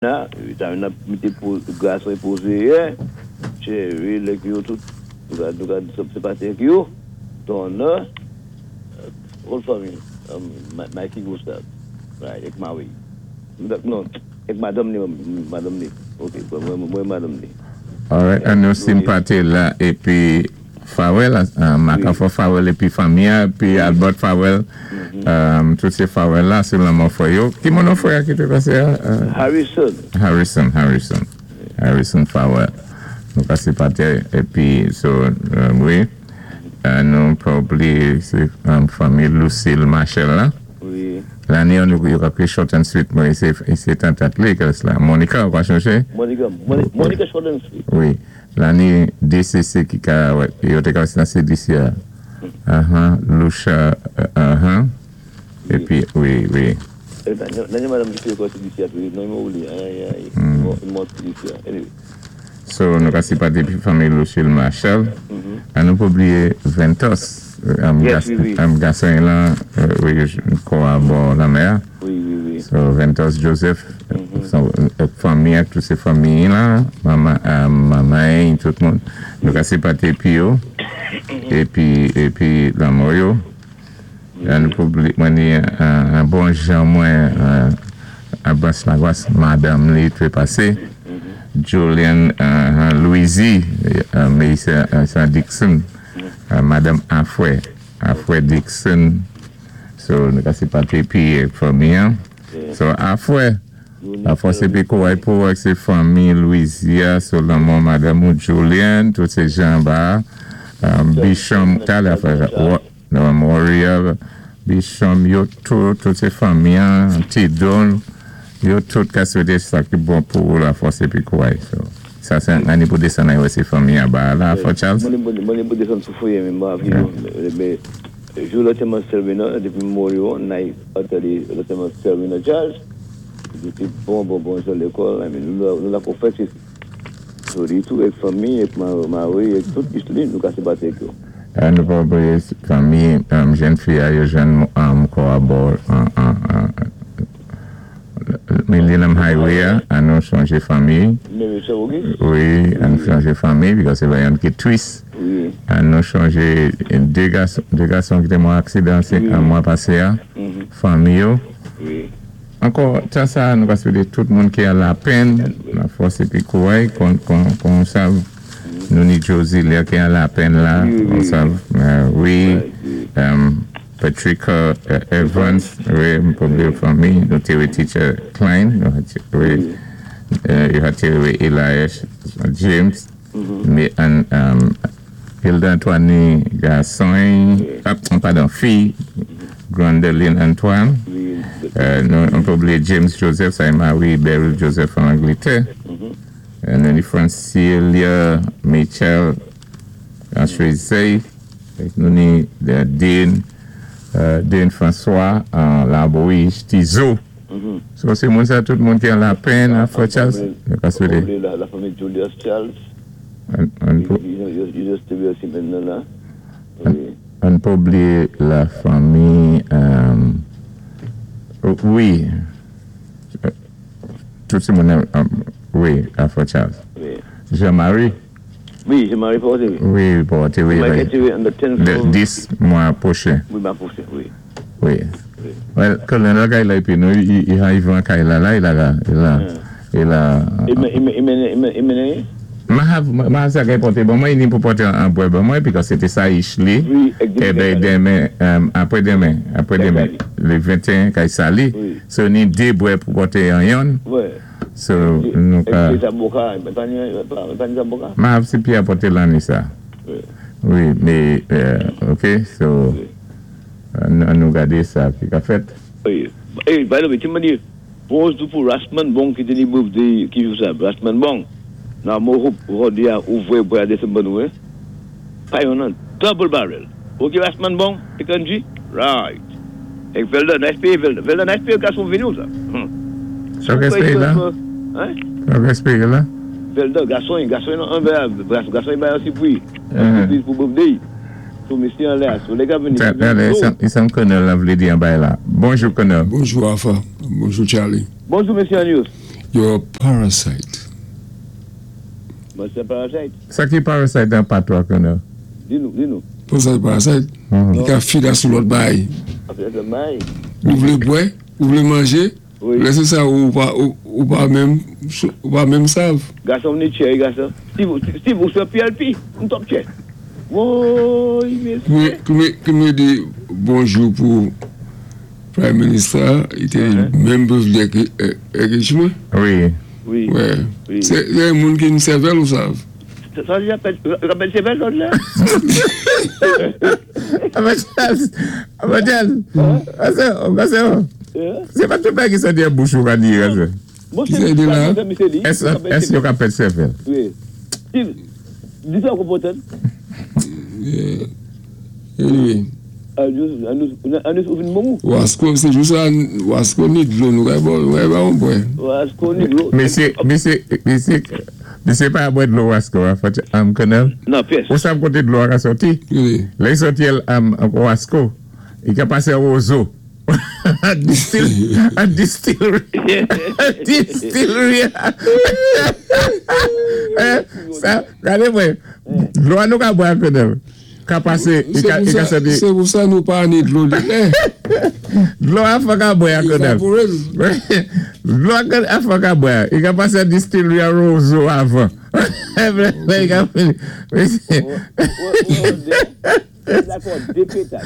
Sa yon mété gason pózé yé, Cherry, lèk yo tout, nou ka senpati ak yo, Donna, whole family, Mikey Gustave, right, èk Maui. Non, èk madanm ni, ok, mwen madanm ni. Alright, an nou senpati la, épi Farewell, Makafo Farewell épi fanmi, épi Albert Farewell, tout sé Farewell la, sé lanmò frè yo. Ki moun frè ki té pasé? Harrison. Harrison, Harrison. Harrison Farewell. Nou ka senpati, épi, so, wi, nou pa blié sé fanmi Lucille Marshall la. Wi. Lanni nou yo ka ékri short and sweet, mwen sé tantant li, la. Monica, ou pa chonjé? Monica, Monica short and sweet. Wi. Lanni DCC ki ka, yo té ka nan CDC a. Aha, Lucia, aha. Épi, wi. Lanni madanm ki fè kwa CDC a, non, mwen oubli, ay, ay, mwen CDC a. Anyway. So, nou ka senpati pi fanmi Lucille Marshall. An nou pa blié Ventos. Yes, wi. Gason lan, wi, kò a bò lanmè. Wi. So, Ventos Joseph, son fanmi, tout sé fanmi la, manman, manman, tout moun. Nou ka senpati pi yo. Épi, lanmò yo. An nou pa blié, mwen ni an bon jan mwen, Abbas Lagwas, madanm li té pasé. Julian Louisi, Meysa Dixon, Madame Afwe, Afwe Dixon. So, nou ka senpati pi fanmi an. So, Afwe, Afwe sé pi kouway pou ak sé fanmi Louisia, so lanmò Madame ou Julian, tout sé jan ba, Bisham, talè Afwe, Warrior, Bisham, yo tout, tout sé fanmi an, Tidon, yo tout ka swété sa ki bon pou la fòs épi kouway. So, sa sé anni pou désann wè sé fanmi an ba la, Afwe Charles? Mwen pou désann sou foyé men mwen avi yo, mé jou lòtèman Selwina, dépi mò yo, nay atade lòtèman Selwina Charles, dépi bon bon bon jan lékòl, I mean, nou la kou fèt so di tou èk fanmi, èk mari, èk tout li, nou ka senpati ak yo. Nou pa blié fanmi jèn fi a yo jwenn kò a bò Millennium Highway a, an nou chonjé fanmi. Wi, an nou chonjé fanmi, because sé yon ki tris. An nou chonjé dé gason ki té mò aksidan sé an mwa pasé a, fanmi yo. Ankò, tan sa, nou ka swété tout moun ki an lapenn, la fòs épi kouway, kon sav, nou ni Josie lè ki an lapenn la, kon sav, wi, Patrick Evans, wi, m pa blié fanmi, nou té wè Teacher Klein, wi, yo ha té wè Elias James, mé an Hilda Antoine gason, padon, fi, Grandeline Antoine, nou pa blié James Joseph, sa é Marie Beryl Joseph an Anglétè, nou ni Francilia Mitchell an Suisse, nou ni Dean, Dean François an Labouche, Tizo. So, sé moun sa tout moun ki an lapenn, a Frè Charles? Nou pa blié la fanmi Julius Charles. Yo te osi maintenant la. An pa blié la fanmi, wi, tout sé moun, wi, a Frè Charles. Jean-Marie? Wi, Jean-Marie Porte, wi. Wi, Porte, wi. Le 10 mwa pwochen. Wi, mwa pwochen, wi. Wi. Well, Colonel kay la épi nou, i ha kay la la, i la la, i la, i la. I mennen? Ma hav sa kay pote ban mwen, ni pou pote an bwè ban mwen, because c'était sa ich li, e ben demen, apwè demen, apwè demen, le 21 kay sa li, so ni de bwè pou pote an yon, so nou ka. Zaboka, pa ni zaboka? Ma hav si pi apote lan ni sa. Wi, mé, ok, so, an nou gadé sa ki ka fèt. Wi, hey, by the way, ti mwen di, bonjou pou Rasman Bong ki té ni birthday ki jou sa, Rasman Bong, nan mo hope jòdi a ouvè pou a désann ban nou, eh? Pa yon nan double barrel. Ok, Rasman Bong, Ekanji? Right. Ek Velda, nice pay Velda. Velda, nice pay gason vini ou sa? Sa ke espéyé la? Hein? Sa ke espéyé la? Velda, gason, gason nan an gason bay an surprise. Surprise pou birthday. So, mesye an la, so lè ka vini. Isam Colonel la vlé di an bay la. Bonjou, Colonel. Bonjou, Alpha. Bonjou, Charlie. Bonjou, mesye Anius. You're a parasite. Mwen sé parasite. Sa ki parasite an patwa, Colonel? Di nou, di nou. Pou sa parasite? Li ka fila sou lòt bay. Lòt bay. Ou vlé bwè, ou vlé manjé, lè sé sa ou pa menm sav. Gason ni chè, gason. Steve, Steve, ou sé PLP, m top chè. Woy, mésyé. Ki mwen di bonjou pou Prime Minister, i té menm birthday ki èk mwen. Wi. Wi. Wè. Sé moun ki ni sèvèl, ou sav. Sa di apèl sèvèl, lòt la? Charles, Charles, ase, sé pa tout bagay ki sòti an bouch ou ka di, ase. Bon, sé di la? Ès yo ka pèd sèvèl? Wi. Steve, di sa konpotan. Anyway. Anous ou vin bon ou? Wasko, sé jou sa, wasko ni dlo nou kay bon, nou kay ba on bwè. Wasko ni dlo. Mesye, mesye, mesye, mesye pa bwè dlo wasko a, Colonel? Non, pyès. Ou sav koté dlo a ka sòti? Wi. Lè i sòti el wasko, i ka pasé an wozo. An distillery. Distillery. Sa, gade mwen, dlo a nou ka bwè a, Colonel. Ka pasé, i ka sòti. Sé pou sa nou pa ni dlo li lè. Dlo a fò ka bwè a, Colonel. Dlo a fò ka bwè a. I ka pasé an distillery a Roseau avan. I ka fini. Dakò, de pétad.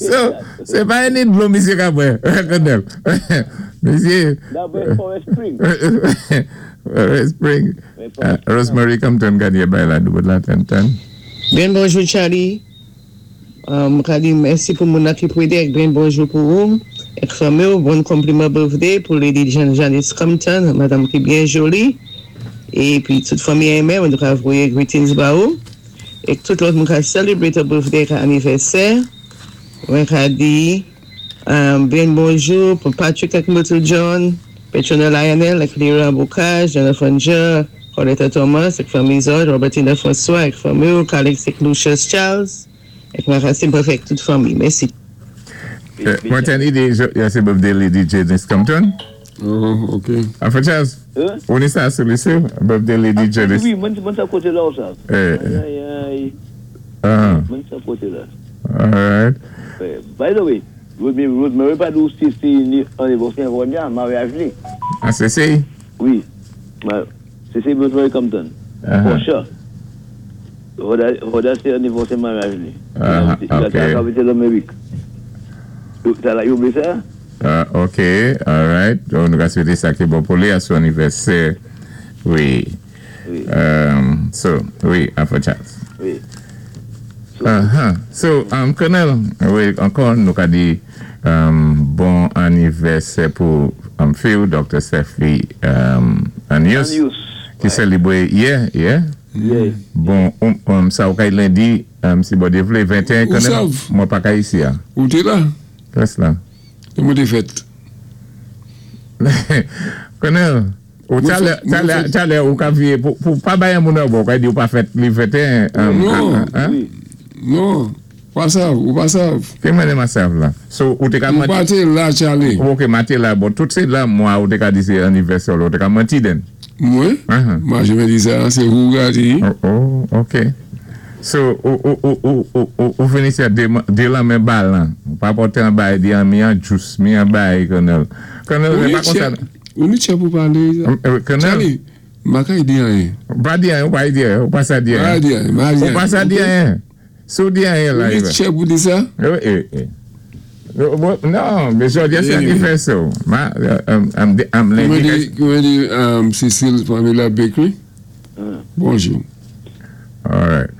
So, sé pa ni dlo misye ka bwè, Colonel. Misye. Da bwè Forest Spring. Forest Spring. Rosemary Compton ganye bay la, nou la ten ten. Byen bonjou, Charlie. Ka di mèsi pou moun ki pwédé èk byen bonjou pou ou èk fanmi ou. Bon konpliman birthday pou Lady Jean Janice Compton, madam ki byen joli. Épi tout fanmi enmen, nou ka voyé greetings ba ou. Èk tout lòt moun ka celebrate a birthday ak anivèsè. Mwen ka di byen bonjou pou Patrick ak Myrtle John, Petrona Lionel ak Lira Bocage, Jonathan Jean, Coletta Thomas ak fanmi zòt, Robertina François ak fanmi ou, Calix ak Lucius Charles, ak Maracine Préfet ak tout fanmi. Mèsi. Mwen ten ide, sé birthday Lady Janice Compton. Oh, ok. Alpha Charles, ou ni sa sou lise, birthday Lady Janice. Wi, mwen sa koté la ou sa. Ay, ay. Mwen sa koté la. Alright. By the way, Rosemary pa di ou si si ni anivèsè Ronya, maryaj li. Ah, sé sé? Wi. Sé sé Rosemary Compton. For sure. Roda sé anivèsè maryaj li. Ah, ok. La kapital Amerik. Sa la, yo oublié sa? Ok, alright. Donk, nou ka swété sa ki bon pou li a son anivèsè. Wi. So, wi, Alpha Charles. Wi. So, Colonel, wi, ankò nou ka di bon anivèsè pou Phil, Dr. Sefli Anius, ki selebre yè, yè. Bon, sa ou kay lendi, si Bondye vle, 21, Colonel, mwen pa ka isi a. Ou té la? Pres la. E mwen té fèt. Colonel, ou talè, talè, talè ou ka viye, pou pa bayan moun an bon, ou ka di ou pa fèt li 21. Non, non, pa sav, ou pa sav. Ki mwen ma sav la? So, ou te ka manti. Ou pa té la, Charlie. Ok, ma té la, bon, tout sé la, mwa ou te ka di sé anivèsè ou te ka manti den. Mwen? Mwa jè mè di sa, sé ou ka di. Oh, ok. So, ou fini se de lan men balan. Ou pa pote an bay di an mi an jous, mi an bay, Colonel. Colonel, ou pa konsa. Ou ni chè pou pale. Colonel. Charlie, ma ka di anyen. Pa di anyen, ou pa di anyen, ou pa sa di anyen. Ma di anyen, ma di anyen. Ou pa sa di anyen. Sou di anyen la. Ou ni chè pou di sa? Wi, Non, men jodi a se anivèsè ou. Ma, am lendi. Koumen di Cecile Pamela Bakery? Bonjou. Alright.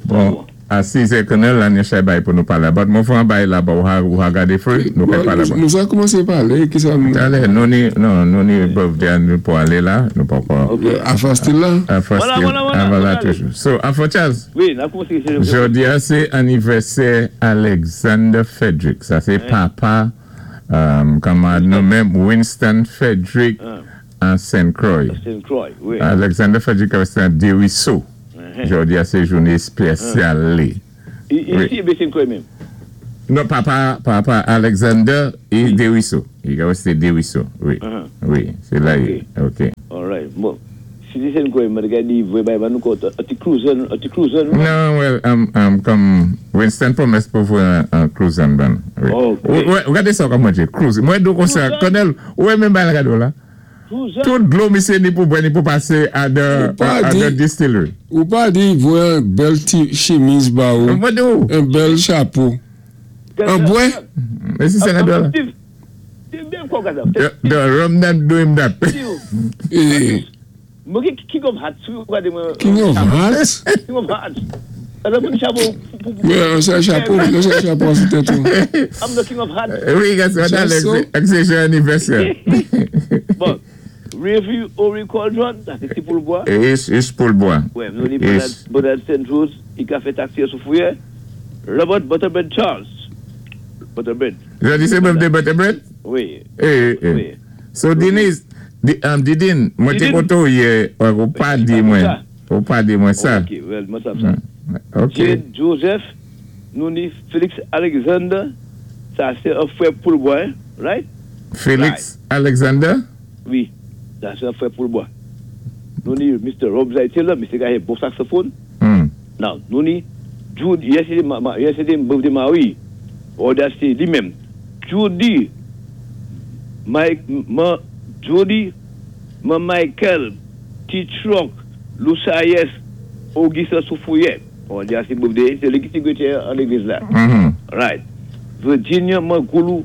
Bon, a 6 è, Colonel, la nye chay bay pou nou pale about. Mwen fwa bay la ba ou ha gade fwe, nou kay pale about. Nou sa koumanse pale, ki sa nou? Tale, nou ni, non, nou ni birthday an nou pou ale la, nou pa kwa. A fastil la? A fastil, a vala toujou. So, Afro Charles, Wi, na koumanse se. Jodi a se anivèsè Alexander Frederick. Sa se papa, kamarad nou menm, Winston Frederick an Saint Croix. Saint Croix, wi. Alexander Frederick se an Deriso. Jodi a se jounen espesyal li. Isi ebe Saint Croix menm? Non, papa, papa Alexander i Desruisseaux. I ka sé Desruisseaux, wi. Wi, sé la. OK. All right. Bon. Citizen kwa, mwen ka di, vwé bay ban nou ko, an ti cruiser, an ti cruiser, nou? Non, well, kòm Winston pwomès pou voyé an cruiser ban. Wi. Wè, gadé sa kòm mwen di, cruiser. Mwen di konsa, Colonel, wè menm bay la gado la. Cruiser. Tout dlo misyé ni pou bwè ni pou pasé a the Ou pa a the di, distillery. Ou pa di voyé an bèl ti chimiz ba ou, Mwen di ou. an bèl chapo. An bwè? Mèsi senatè la. The rum not do him that. King of Hearts. King of Hearts? King of Hearts. Wè, an sa chapo, an sa chapo sou tèt ou. I'm the King of Hearts. Wi, ak sé jou anivèsè. Bon, Review Ori Cauldron, sa sé ti Poulbois. Is Poulbois. Wè, nou ni Bernard St. Rose, i ka fè taxi sou Fourrière. Robert Butterbread Charles. Butterbread. Jodi sé birthday Butterbread? Wi. Eh. So Denise, Didine, mwen té koté ou yè, ou pa di mwen, ou pa di mwen sa. Ok, well, mwen sa sa. Ok. Jade Joseph, nou ni Felix Alexander, sa sé an frè Poulbois, right? Felix Alexander? Wi, sa sé an frè Poulbois. Nou ni Mr. Rob Zaitela, Mr. ka jwé bon saxophone. Now, nou ni Jude, yè sé yè sé birthday Marie, or sé li menm. Judy, Mike, ma, Judy, ma Michael, T-Truck, Lusayes, Auguste Soufouye. On di sé birthday, sé li ki sékrétè an légliz la. Right. Virginia Mangoulou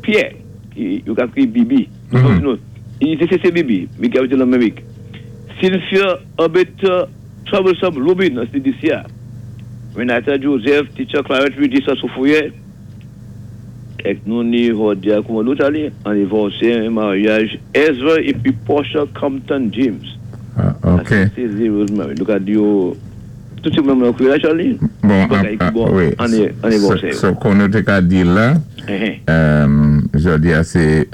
Pierre, ki yo ka ékri Bibi. Non, il sé Bibi, mais ki abité nan Amérique. Cynthia Albert Troublesome Rubin, an CDCA. Renata Joseph, Teacher Clarence Regis Soufouye. Ek nou ni Hodia, kouman nou tali? Anivèsè, maryaj Ezra épi Portia Compton James. Ah, ok. Sé zé Rosemary. Nou ka di yo, tout sé moun nan la, Charlie? Bon, ah, wi. Anivèsè. So, kon nou té ka di la, jodi a sé,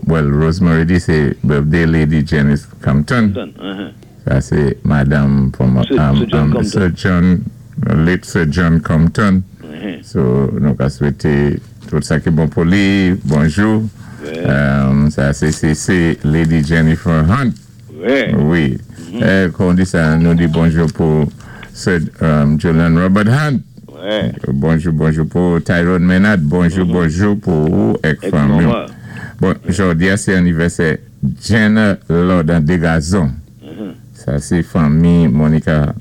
well, Rosemary di sé birthday Lady Janice Compton. Sa sé Madame from Sir John Compton. Sir John, late Sir John Compton. So, nou ka swété tout sa ki bon pou li. Bonjou. Sa sé Lady Jennifer Hunt. Wi. Kon di sa, nou di bonjou pou Sir Julian Robert Hunt. Bonjou, bonjou pou Tyrone Maynard. Bonjou, bonjou pou ou ek fanmi. Bon, jodi a sé anivèsè Jenna Lord an Degazon. Sa sé fanmi Monica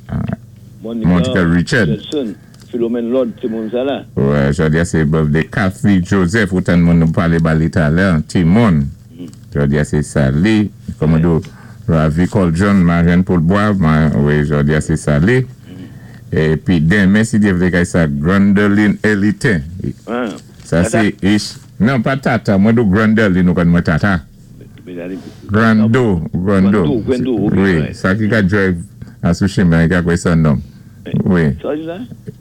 Monica Richard. Richardson, Philomène Lord, sé moun sa la. Wè, jodi a sé birthday Kathy Joseph, ou tan moun nou palé ba li talè, Timon. Jodi a sé sa li. Kòman do Ravi Coljon, Marianne Poulbois, wi, jodi a sé sa li. Épi denmen, si Dye vlé kay sa Grandoline Elitin. Sa sé ish. Non, pa Tata, mwen di Grandoline ou konn mwen Tata. Grando, Grando. Wi, sa ki ka drive a sou chimen, i ka kwè sé an nonm. Wi.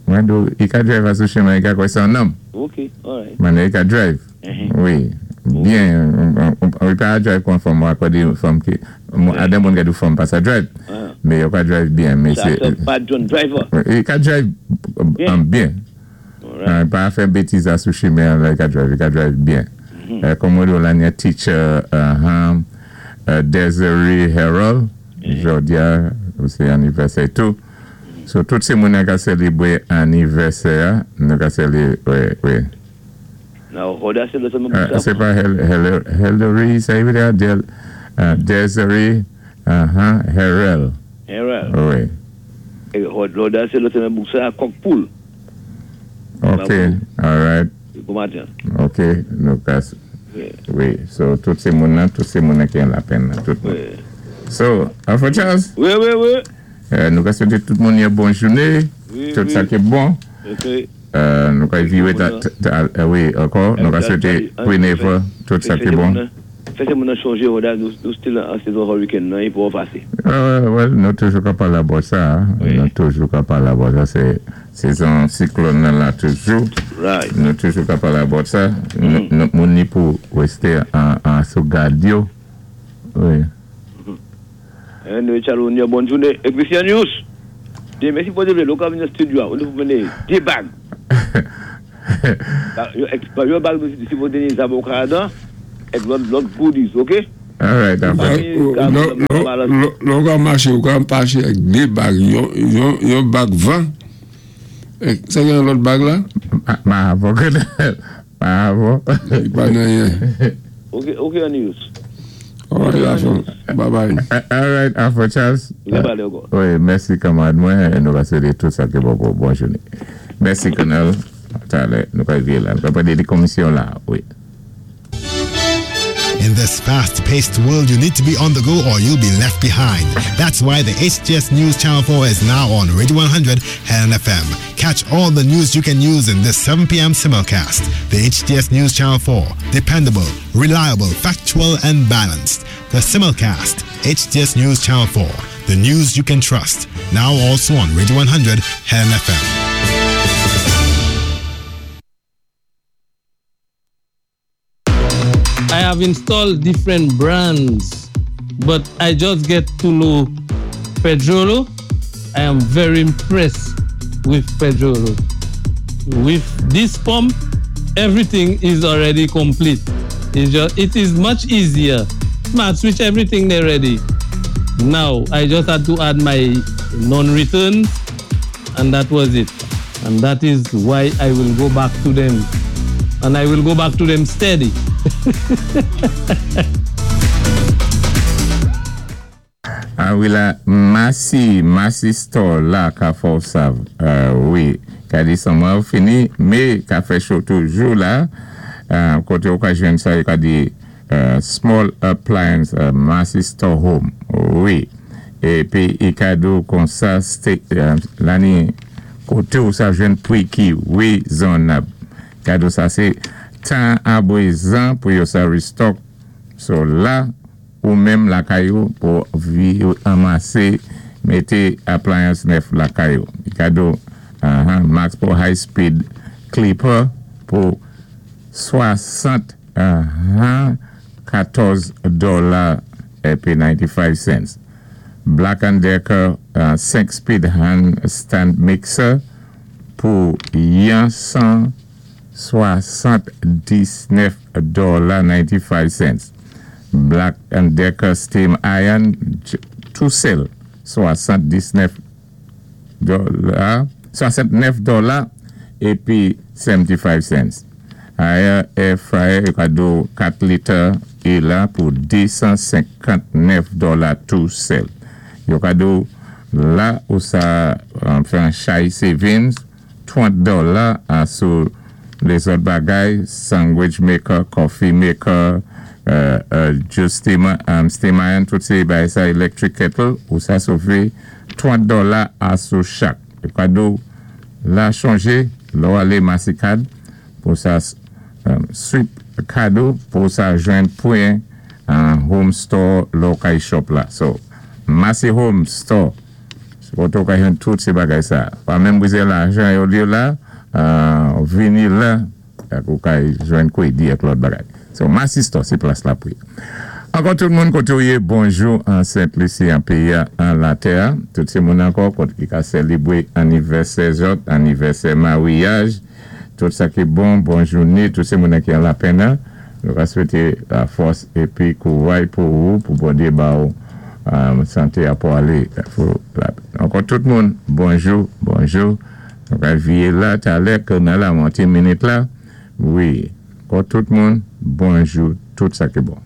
Mwen di i ka drive a sou chimen, i ka kwè sé an nonm. Ok, alright. Men i ka drive. Wi. Byen, i pa drive kon fanm, wè kwè di fanm ki, adan moun ka di fanm pa sa drive. Men yo ka drive byen, men se Sa sé pa John Driver. I ka drive byen. Pa fè bétiz a sou chimen, la i ka drive, i ka drive byen. Kòm mwen di la nye teacher Desiree Harold, jodi a, sé anivèsè tou. So, tout sé moun ka sélébwé anivèsè, nou ka sélébwé, wi. Now, Hoda sé lè sa Sé pa Hillary, sa vlé di Desiree Harold. Harold. Wi. É Hoda sé lè sa bouk sa kòk poul. Ok, alright. Bon maten. Ok, nou ka, wi, so tout sé moun nan, tout sé moun nan ki an lapenn nan, tout moun. So, Alpha Charles? Wi. Nou ka swété tout moun yon bon jouné, tout sa ki bon. Nou ka viwé, wi, ankò, nou ka swété Queen Eva, tout sa ki bon. Fè sé moun nan chonjé, Hoda, nou still an sezon hurricane nan, i pou pasé. Well, nou toujou ka palé about sa, nou toujou ka palé about sa, sé sezon siklòn nan la toujou. Nou toujou ka palé about sa. Nou moun ni pou resté an sou gad yo. Wi. Anyway, Charles, on bonne journée. Et Christian News, mèsi pou de lokal nan studio, on nou pou mennen dé bag. Yon bag nou sipozé ni zam o Kanada, èk lòt goodies, ok? All right, afè. Lò ou ka maché, ou ka maché ak dé bag, yon bag van, sa gen lòt bag la? Ma avò, ma avò. Pa nan yen. Ok, Anius. All right, afè. Bye bye. All right, afè Charles. Wi, mèsi kanmarad mwen, nou va swété tout sa ki bon pou bon jouné. Mèsi Colonel. Talè, nou ka vié la. Nou ka pwédé di komisyon la, wi. In this fast-paced world, you need to be on the go or you'll be left behind. That's why the HTS News Channel 4 is now on Radio 100 Helen FM. Catch all the news you can use in this 7 p.m. simulcast. The HTS News Channel 4. Dependable, reliable, factual, and balanced. The simulcast. HTS News Channel 4. The news you can trust. Now also on Radio 100 Helen FM. I have installed different brands, but I just get to know Pedrolo. I am very impressed with Pedrolo. With this pump, everything is already complete. It's just, it is much easier. Smart switch, everything they ready. Now, I just had to add my non-returns, and that was it. And that is why I will go back to them. And I will go back to them steady. A wi la, Massy, Massy Store la ka fò sav, wi, ka di summer fini, mé ka fè cho toujou la, koté ou ka jwenn sa yo ka di small appliance Massy Store Home, wi, épi i ka di ou konsa lani koté ou sa jwenn pri ki wézonnab. Kado sa sé tan abwézan pou yo sa restock, so la ou menm lakay ou pou vi anmasé mété appliance nèf lakay ou. Kado Max pou high speed clipper pou 60 14 dola épi 95 cents. Black and Decker 5 speed hand stand mixer pou yon 179 dola 95 cents. Black and Decker steam iron tou sèl 79 dola 69 dola épi 75 cents. Air air fryer yo ka di ou 4 liter e la pou 259 dola tou sèl. Yo ka di ou la ou sa fè an chay savings 30 dola sou lézòt bagay sandwich maker, coffee maker, juice steamer, steam iron, tout sé bagay sa electric kettle ou sa sové 30 dola sou chak. Yo ka di ou la chonjé lò alé Massy Card pou sa swipe kado pou sa jwenn pwen home store lò kay shop la. So, Massy Home Store koté ou ka jwenn tout sé bagay sa. Pa menm bizwen lajan yo di la, vini la ou ka jwenn kwédi ak lòt bagay. So, Massy Store sé plas la pou. Ankò tout moun koté ou yé, bonjou an Sent Lisi an péyi an latè. Tout sé moun ankò koté ki ka sélébwé anivèsè zòt, anivèsè maryaj, tout sa ki bon, bon jouné, tout sé moun ki an lapenn nou ka swété la fòs épi kouray pou ou pou Bondyé ba ou santé a pou alé. Ankò tout moun, bonjou, bonjou. Nou ka vié la talè ke nan la monté minit la. Wi, ankò tout moun, bonjou, tout sa ki bon.